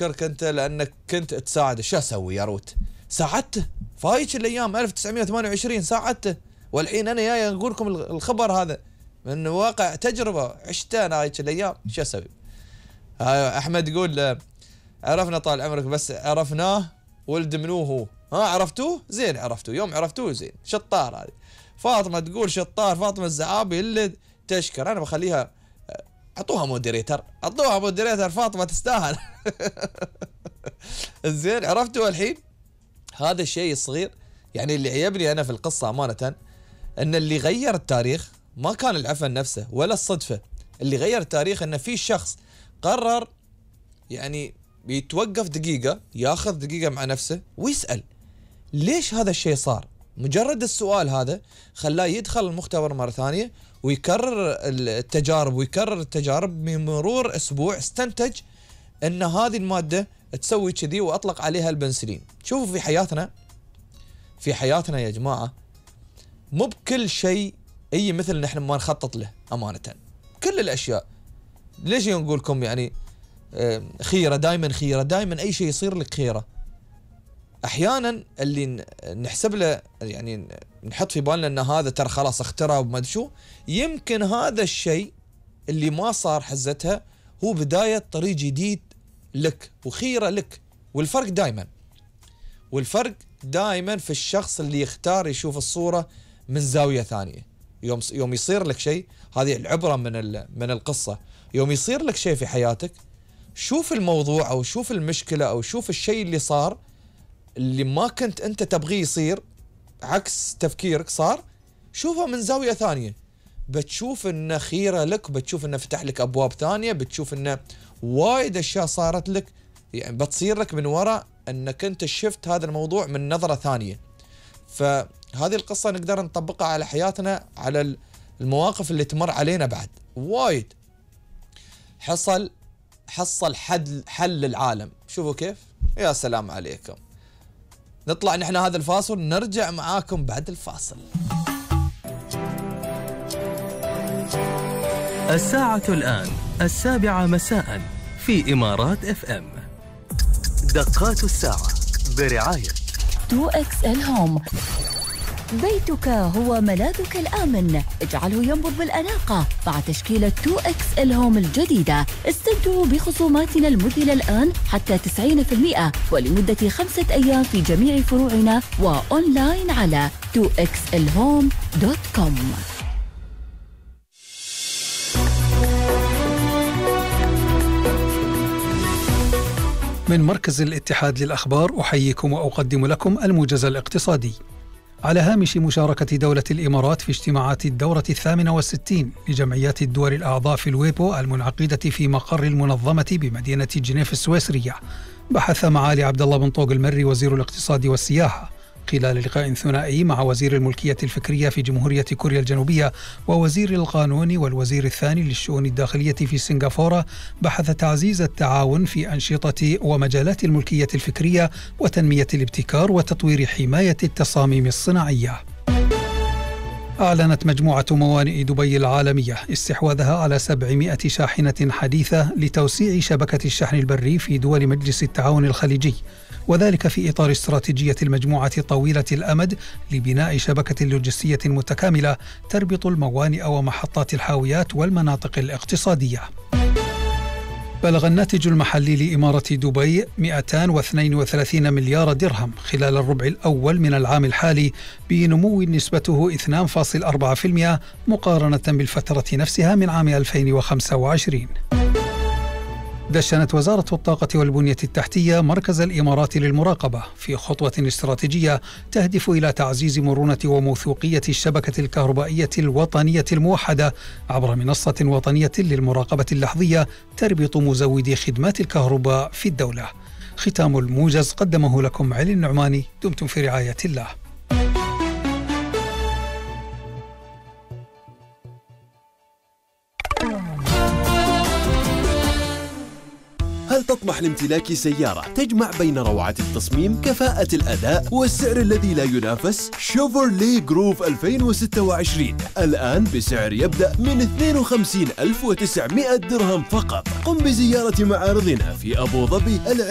أشكرك أنت لأنك كنت تساعده. شو أسوي يا روت؟ ساعدته فايش الأيام 1928 ساعدته، والحين أنا جاي أقول لكم الخبر هذا من واقع تجربة عشتها أنا هايش الأيام. شو أسوي؟ أحمد يقول عرفنا طال عمرك، بس عرفناه ولد منو هو. عرفتوه؟ زين عرفتوه، يوم عرفتوه زين. شطار هذه. فاطمة تقول شطار، فاطمة الزعابي اللي تشكر. أنا بخليها أعطوها مودريتر، فاطمة تستاهل. زين عرفتوا الحين هذا الشيء الصغير. يعني اللي عيبني أنا في القصة أمانة أن اللي غير التاريخ ما كان العفن نفسه ولا الصدفة. اللي غير التاريخ أن في شخص قرر يعني بيتوقف دقيقة، ياخذ دقيقة مع نفسه ويسأل ليش هذا الشيء صار. مجرد السؤال هذا خلاه يدخل المختبر مرة ثانية ويكرر التجارب بمرور أسبوع استنتج أن هذه المادة تسوي كذي وأطلق عليها البنسلين. شوفوا في حياتنا يا جماعة مو بكل شيء مثل نحن ما نخطط له أمانة. كل الأشياء ليش نقول لكم يعني خيرة دائما أي شيء يصير لك خيرة. أحيانا اللي نحسب له يعني نحط في بالنا أن هذا ترى خلاص اخترع وما شو، يمكن هذا الشيء اللي ما صار حزتها هو بداية طريق جديد لك وخيرة لك. والفرق دائما في الشخص اللي يختار يشوف الصورة من زاوية ثانية. يوم يصير لك شيء، هذه العبرة من القصة، يوم يصير لك شيء في حياتك شوف الموضوع أو شوف المشكلة أو شوف الشيء اللي صار اللي ما كنت أنت تبغيه يصير، عكس تفكيرك صار، شوفه من زاوية ثانية. بتشوف إنه خيرة لك، بتشوف إنه فتح لك أبواب ثانية، بتشوف إنه وايد أشياء صارت لك يعني بتصير لك من وراء أنك أنت شفت هذا الموضوع من نظرة ثانية. فهذه القصة نقدر نطبقها على حياتنا، على المواقف اللي تمر علينا بعد وايد. حصل حل العالم. شوفوا كيف، يا سلام عليكم. نطلع نحن هذا الفاصل، نرجع معاكم بعد الفاصل. الساعة الآن 7 مساء في إمارات FM. دقات الساعة برعاية 2XL هوم. بيتك هو ملاذك الآمن، اجعله ينبض بالأناقة مع تشكيلة 2XL هوم الجديدة. استمتعوا بخصوماتنا المذهلة الآن حتى 90% ولمدة 5 أيام في جميع فروعنا وأونلاين على 2xlhome.com. من مركز الاتحاد للأخبار أحييكم وأقدم لكم الموجز الاقتصادي. على هامش مشاركة دولة الإمارات في اجتماعات الدورة 68 لجمعيات الدول الأعضاء في الويبو المنعقدة في مقر المنظمة بمدينة جنيف السويسرية، بحث معالي عبد الله بن طوق المري وزير الاقتصاد والسياحة خلال لقاء ثنائي مع وزير الملكية الفكرية في جمهورية كوريا الجنوبية ووزير القانون والوزير الثاني للشؤون الداخلية في سنغافورة، بحث تعزيز التعاون في أنشطة ومجالات الملكية الفكرية وتنمية الابتكار وتطوير حماية التصاميم الصناعية. أعلنت مجموعة موانئ دبي العالمية استحواذها على 700 شاحنة حديثة لتوسيع شبكة الشحن البري في دول مجلس التعاون الخليجي، وذلك في إطار استراتيجية المجموعة طويلة الأمد لبناء شبكة لوجستية متكاملة تربط الموانئ ومحطات الحاويات والمناطق الاقتصادية. بلغ الناتج المحلي لإمارة دبي 232 مليار درهم خلال الربع الأول من العام الحالي، بنمو نسبته 2.4% مقارنة بالفترة نفسها من عام 2025. دشنت وزارة الطاقة والبنية التحتية مركز الإمارات للمراقبة في خطوة استراتيجية تهدف إلى تعزيز مرونة وموثوقية الشبكة الكهربائية الوطنية الموحدة عبر منصة وطنية للمراقبة اللحظية تربط مزودي خدمات الكهرباء في الدولة. ختام الموجز قدمه لكم علي النعماني. دمتم في رعاية الله. هل تطمح لامتلاك سيارة تجمع بين روعة التصميم، كفاءة الأداء والسعر الذي لا ينافس؟ شيفروليه جروف 2026 الآن بسعر يبدأ من 52,900 درهم فقط. قم بزيارة معارضنا في أبو ظبي